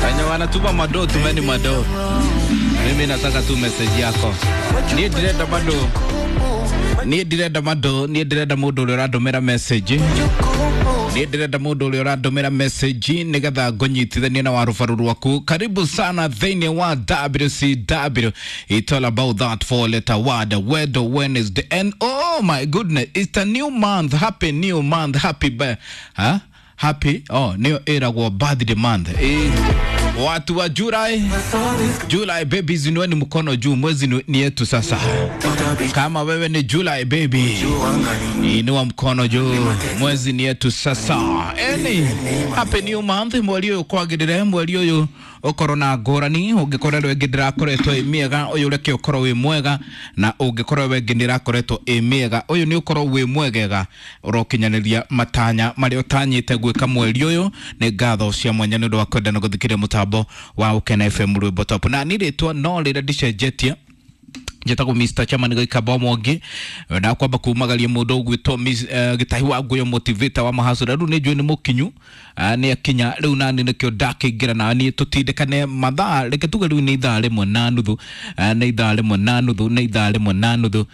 Wenye wanatuma mado, tumeni mado. Mimi nataka tu message yako. Niĩ ndirenda mado. Niĩ ndirenda mado, niĩ ndĩrenda mũndũ ũrĩa ũrandũmĩra message. Niĩ ndĩrenda mũndũ ũrĩa ũrandũmĩra message nĩgetha ngũnyitithanie na warubaru rwaku. Karibu sana thĩinĩ wa WCW. It's all about that four letter word, Wedo Wednesday. And oh my goodness, it's a new month. Happy new month. Happy huh? Happy, oh, nĩyo ĩragwo birthday month. Eh, watu wa July, July babies, inueni mkono juu, mwezi ni yetu sasa. Kama wewe ni July baby, inua mkono juu, mwezi ni yetu sasa. Eni, happy new month, mweri ũyũ kwagĩrĩre, mweri ũyũ ũkorwo na ngũrani, ũngĩkorwo ĩngĩ ndĩrakoretwo ĩ mĩega, ũyũ reke ũkorwo wĩ mwega, na ũngĩkorwo ĩngĩ ndĩrakoretwo ĩ mĩega, ũyũ nĩ ũkorwo wĩ mwegega, ũrokinyanĩria matanya marĩa ũtanyĩte gwĩka mweri ũyũ. Nĩ ngatho cia mwanya nĩ ũndũ wa kwenda na gũthikĩrĩria mũtambo wa Ũkena FM Rwĩmbo Top. Na niĩ rĩtwa no rĩrĩa ndicenjetie, njĩtagwo Mr. Chairman Gĩkamba Mwangi, na kwamba kumagaria mũndũ ũgwĩtwo Gĩtahi wa Nguyo, motivator wa mahacũra. Rĩu nĩ njũĩ nĩ mũkinyu, nĩ akinya rĩu, nani nĩkĩo ndakĩingĩra na niĩ tũtindĩkane mathaa. Reke tuge rĩu nĩ ithaa rĩmwe na nuthu, nĩ ithaa rĩmwe na nuthu, nĩ ithaa rĩmwe na nuthu,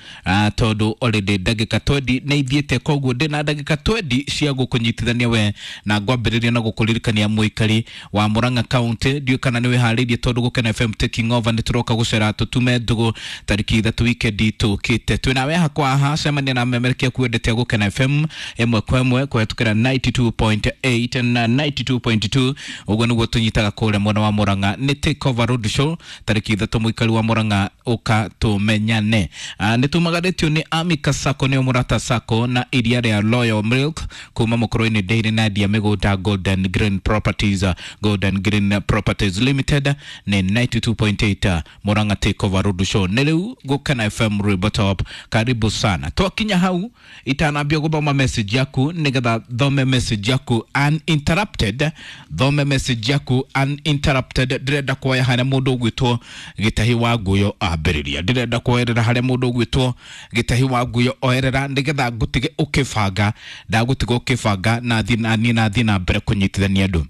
tondũ already ndagĩka 20 nĩ ithiĩte, koguo ndĩna ndagĩka 20 cia gũkũnyitithania we, na ngwambĩrĩria na gũkũririkania mũikari wa Murang'a County, ndiũĩ kana nĩ wĩharĩirie, tondũ Gũkena FM taking over nĩ tũroka gũcera tũtume ndũgũ tarĩki 3 weekend tũkĩte. Twĩnawe hakwa haha, cemania na memerekia kuendete Gũkena FM ĩmwe kwa ĩmwe kũhetũkĩra 92.8 na 92.2. Ũguo nĩguo tũnyitaga kũrĩa mwena wa Murang'a. Nĩ take over road show tarĩki 3, mũikari wa Murang'a, ũka tũmenyane. Nĩ tumagarĩtio nĩ Amika Sacco, nĩo Mũrata Sacco, na iria rĩa Royal Milk kuma mũkũrũ-inĩ Dairy, na endia mĩgũnda Golden Green Properties, Golden Green Properties Limited. Nĩ 92.8 Murang'a take over road show nĩ rĩu Gũkena FM Rwĩmbo Top. Karibu sana. Twakinya hau, itanambia gũthoma message yaku, nĩgetha thome message yaku uninterrupted, thome message yaku uninterrupted, ndĩrenda kuoya harĩa mũndũ ũgwĩtwo Gĩtahi wa Nguyo ambĩrĩria. Ndĩrenda kuoerera harĩa mũndũ ũgwĩtwo Gĩtahi wa Nguyo oerera, nĩgetha ngũtige ũkĩbanga, ndagũtiga ũkĩbanga na thiĩ na niĩ na thiĩ na mbere kũnyitithania andũ.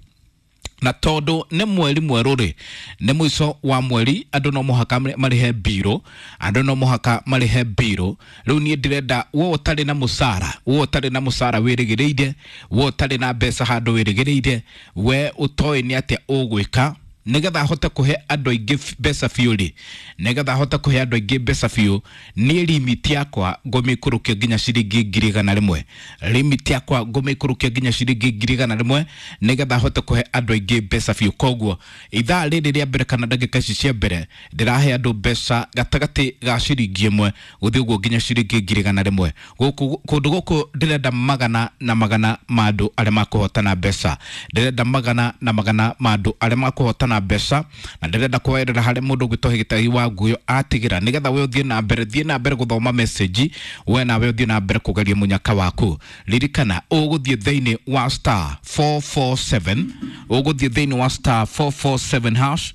Na tondũ nĩ mweri mwerũ rĩ, nĩ mũico wa mweri, andũ no mũhaka marĩhe mbirũ, andũ no mũhaka marĩhe mbirũ. Rĩu niĩ ndĩrenda we ũtarĩ na mũcara, we ũtarĩ na mũcara wĩrĩgĩrĩire, we ũtarĩ na mbeca handũ wĩrĩgĩrĩire, we ũtoĩ nĩ atĩa ũgwĩka, nĩgetha hote kũhe andũ aingĩ mbeca biũ rĩ, nĩgetha hote kũhe andũ aingĩ mbeca biũ, niĩ limit yakwa ngũmĩikũrũkia nginya ciringi 100,000. Limit yakwa ngũmĩikũrũkia nginya ciringi 100,000, nĩgetha hote kũhe andũ aingĩ mbeca biũ. Koguo ithaa rĩrĩ rĩa mbere kana ndagĩka ici cia mbere, ndĩrahe andũ mbeca gatagatĩ ga ciringi 1 gũthiĩ ũguo nginya ciringi 100,000. Gũkũ kũndũ gũkũ ndĩrenda magana na magana ma andũ arĩa makũhotana mbeca, ndĩrenda magana na magana ma andũ arĩa makũhotana mbeca, na ndĩrenda kwerera harĩa mũndũ ũgwĩtwo Gĩtagi wa Nguyo atigĩra, nĩgetha we ũthiĩ na mbere, thiĩ na mbere gũthoma message, we nawe ũthiĩ na mbere kũgeria mũnyaka waku. Ririkana ũgũthiĩ thĩinĩ wa star 447, ũgũthiĩ thĩinĩ wa star 447 hash.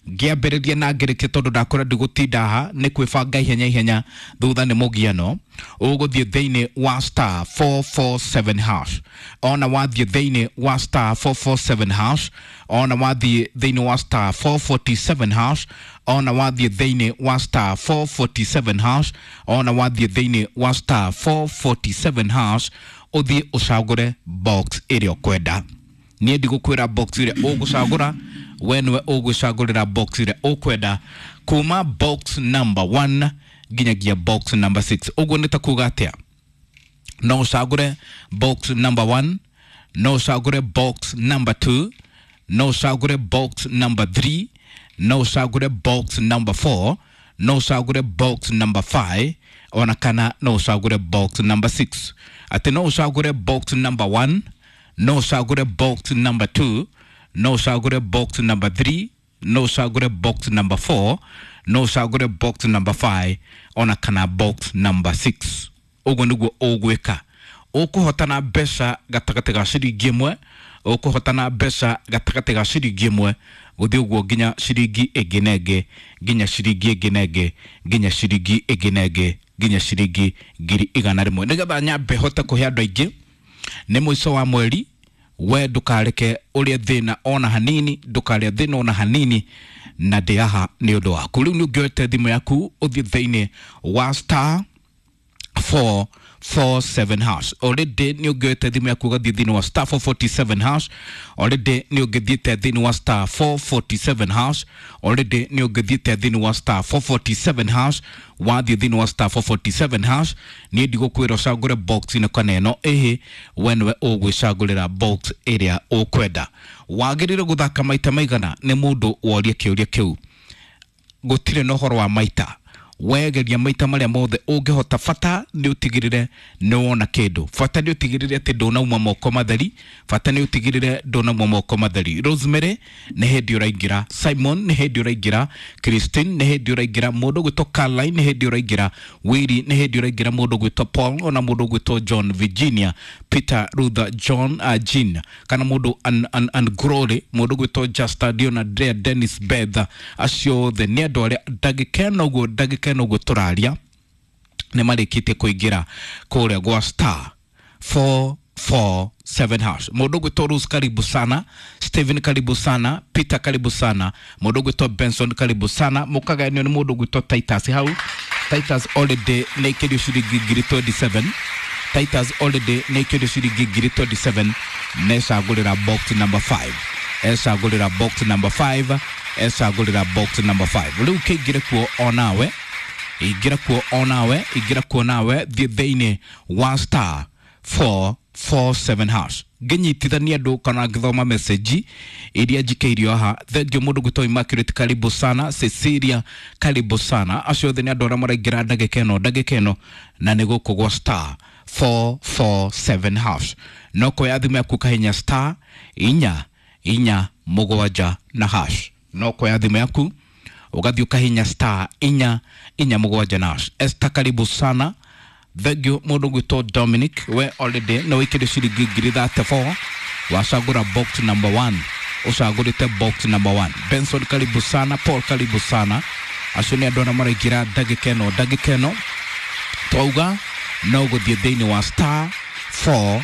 Ngĩambĩrĩria na ngĩrĩkia, tondũ ndakora ndigũtinda haha nĩ kwĩbanga ihenya ihenya, thutha nĩ mũgiano. Ũgũthiĩ thĩinĩ wa star 447 hash, ona wathiĩ thĩinĩ wa star 447 hash, ona wathiĩ thĩinĩ wa star 447 hash, ona wathiĩ thĩinĩ wa star 447 hash, ona wathiĩ thĩinĩ wa star 447 hash, ũthiĩ ũcagũre box ĩrĩa ũkwenda. Niĩ ndigũkwĩra box ĩrĩa ũgũcagũra, we nĩwe ũgwĩcagũrĩra box ĩrĩa ũkwenda kuma box number 1 nginyagia box number 6. Ũguo nĩ ta kuga atĩa? No ũcagũre box number 1, no ũcagũre box number 2, no ũcagũre box number 3, no ũcagũre box number 4, no ũcagũre box number 5, ona kana no ũcagũre box number 6. Atĩ no ũcagũre box number 1, no ũcagũre box number 2, no ũcagũre box number 3, no ũcagũre box number 4, no ũcagũre box number 5, ona kana box number 6. Ũguo nĩguo ũgwĩka. Ũkũhotana mbeca gatagatĩ ga ciringi 1, ũkũhotana mbeca gatagatĩ ga ciringi 1 gũthiĩ ũguo nginya ciringi ĩngĩ na ĩngĩ, nginya ciringi ĩngĩ na ĩngĩ, nginya ciringi ĩngĩ na ĩngĩ, nginya ciringi 100,000. Nĩgetha nyambe hote kũhe andũ aingĩ, nĩ mũico wa mweri. We ndũkareke ũrĩa thĩna ona hanini, ndũkarĩa thĩna ona hanini, na ndĩ haha nĩ ũndũ waku. Rĩu nĩ ũngĩoete thimũ yaku ũthiĩ thĩinĩ wa star 447 hash. Already nĩ ũngĩoete thimũ yaku ũgathiĩ thĩinĩ wa star 447 hash. Already nĩ ũngĩthiĩte thĩinĩ wa star 447 hash. Already nĩ ũngĩthiĩte thĩinĩ wa star 447 hash. Wathiĩ thĩinĩ wa star 447 hash, niĩ ndigũkwĩra ũcagũre box ĩno kana ĩno, ĩhĩ, we nĩwe ũgwĩcagũrĩra box ĩrĩa ũkwenda. Wagĩrĩire gũthaka maita maigana? Nĩ mũndũ woria kĩũria kĩu. Gũtirĩ na ũhoro wa maita, wegeria maita marĩa mothe ũngĩhota, bata nĩ ũtigĩrĩre nĩ wona kĩndũ, bata nĩ ũtigĩrĩre atĩ ndũnauma moko matheri, bata nĩ ũtigĩrĩre ndũnauma moko matheri. Rosemary nĩ hĩndĩ ũraingĩra, Simon nĩ hĩndĩ ũraingĩra, Christine nĩ hĩndĩ ũraingĩra, mũndũ ũgwĩtwo Caroline nĩ hĩndĩ ũraingĩra, Willy nĩ hĩndĩ ũraingĩra, mũndũ ũgwĩtwo Paul, ona mũndũ ũgwĩtwo John, Virginia, Peter, Ruther, John, Jean, kana mũndũ an Glory, mũndũ ũgwĩtwo Justa, Dion, Andrea, Dennis, Beth, acio othe nĩ andũ arĩa ndagĩka ĩno ũguo, ndagĩka ĩno ũguo tũraria nĩ marĩkĩtie kũingĩra kũrĩa gwa star 447 hash. Mũndũ ũgwĩtwo Rose, karibu sana. Stephen, karibu sana. Peter, karibu sana. Mũndũ ũgwĩtwo Benson, karibu sana. Mũkagayanio nĩ mũndũ ũgwĩtwo Titus hau. Titus already nĩ ikĩrio ciringi ngiri 27. Titus already nĩ ikĩrio ciringi ngiri 27, necagũrĩra box number 5, ecagũrĩra box number 5, ecagũrĩra box number 5. Rĩu kĩingĩre kuo onawe, ingĩra kuo onawe, ingĩra kuo nawe, thiĩ thĩinĩ wa star 447 hash. Ngĩnyitithania andũ kana ngĩthoma message iria njikĩirio haha. Thengiũ mũndũ gwĩtwo Immaculate, karibu sana. Cecilia, karibu sana. Acio othe nĩ andũ arĩa maraingĩra ndagĩka ĩno, ndagĩka ĩno, na nĩ gũkũ gwa star 447 hash. No kuoya thimũ yaku kahinya star inya inya mũgwanja na hash. No kuoya thimũ yaku ũgathiĩ ũkahinya star inya inya mũgwanja na hash. Esther, karibu sana. Thengiũ mũndũ gwĩtwo Dominic, we already nĩ wĩkĩre ciringi ngiri 34, wacagũra box number 1, ũcagũrĩte box number 1. Benson, karibu sana. Paul, karibu sana. Acio nĩ andũ arĩa maraingĩra ndagĩka ĩno, ndagĩka ĩno twauga no gũthiĩ thĩinĩ wa star 4